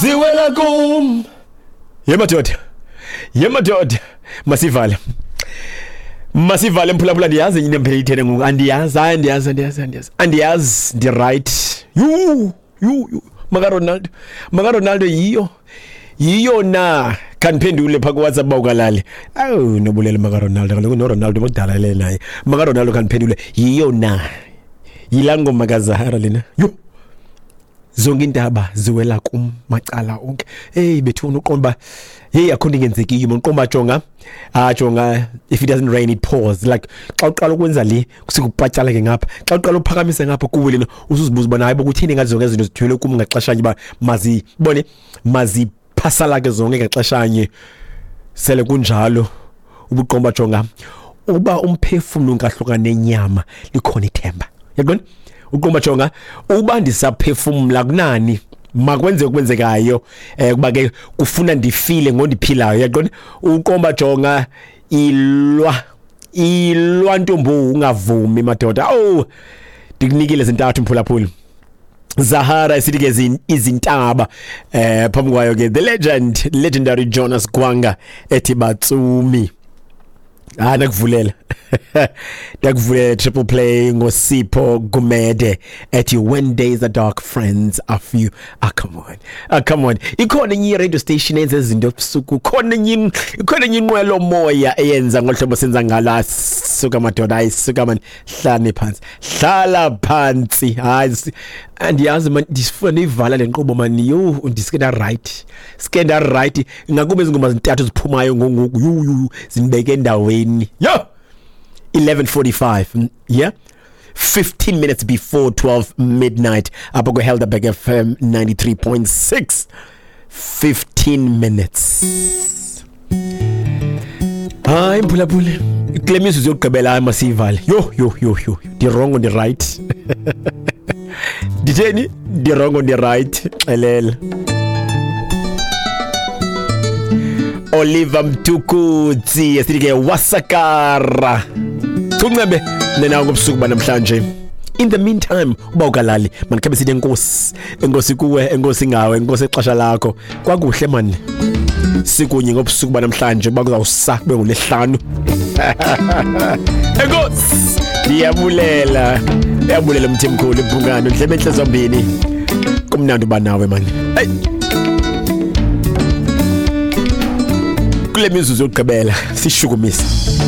Ziwela kum. Ye madoda. Ye madoda. Masivale. Masivale mphulaphula, ndiyazi enye into emphela ithene ngoku. Andiyazi, hayi andiyazi, andiyazi, andiyazi. Andiyazi, ndi right. Yhu, yhu, yhu. Maka Ronaldo. Maka Ronaldo yiyo. Yiyo na khandiphendule phaa kuWhatsApp uba ukalali. Awu nobulele maka Ronaldo, kaloku noRonaldo bakudala le naye. Maka Ronaldo khandiphendule yiyo na. Yilaa ngoma kaZahara lena. Yho. Zonke iintaba ziwela kum macala onke. Eyi bethuna, uqonda uba heyi akho nto ingenzekiyo man. Uqonda uba jonga, ah jonga, if it doesn't rain it pours. Like xa uqala ukwenza le kusukupatyala ke ngapha, xa uqala uphakamisa ngapha kuwe lena, usuzibuza ubana hayi bo kutheni ngathi zonke izinto zithwele kum ngaxeshanye, uba mazibone maziphasalake zonke ngaxeshanye. Sele kunjalo ubuqomba, jonga, uba umphefumlo ungahlukana nenyama likhona ithemba. Yaqonda uqomba, jonga, uba ndisaphefumla kunani makwenze okwenzekayo, kuba ke kufuna ndifile ngondiphilayo. Yaqonda uqomba, jonga, ilwa ilwa ntombo, ungavumi madoda. Oh, ndikunikile zintathu mphulaphuli. Zahara isithi ke izintaba, phambi kwayo ke the legend, legendary Jonas Gwanga ethi Batsumi. Ah, ndakuvulela, ndakuvulela triple play ngoSipho Gumede ethi when days are dark, friends are few. Ah, come on, ah, come on. Ikhona enye radio station eyenza izinto ebusuku, khona enye, ikhona enye inqwelo moya eyenza ngohlobo senza ngalo. Suka madoda, hayi suka man, hlani phansi, hlala phansi. Hayi andiyazi man, ndifuna niyivala le nkqubo man. Yho, ndisike nda right, sike nda right, ngakumbi ezi ngoma zintathu ziphumayo ngongoku. Yhu yhu, zindibeke endaweni. Yho, 11:45, yeah, 15 minutes before 12 midnight apha kwiHelderberg FM 93.6, 15 minutes. Hayi mphulaphuli, kule mizuzu yokugqibela, hayi masiyivale. Yho yho yho yho, ndirongo ndirayithi, nditheni, ndirongo ndirayithi, xelela. Oliver Mtukudzi esithi ke wasakara thuncembe nenawo ngobusuku banamhlanje. In the meantime, uba ukalali mandikhabe sithi enkosi, enkosi kuwe, enkosi ngawe, enkosi ixesha lakho. Kwakuhle mani sikunye ngobusuku banamhlanje, uba kuzawusa kube ngolwesihlanu. Enkosi, ndiyabulela, ndiyabulela mthimkhulu ibhungane ndlebe entle zombini. Kumnandi uba nawe mani. Hey. Kule mizuzu yokugqibela sishukumise.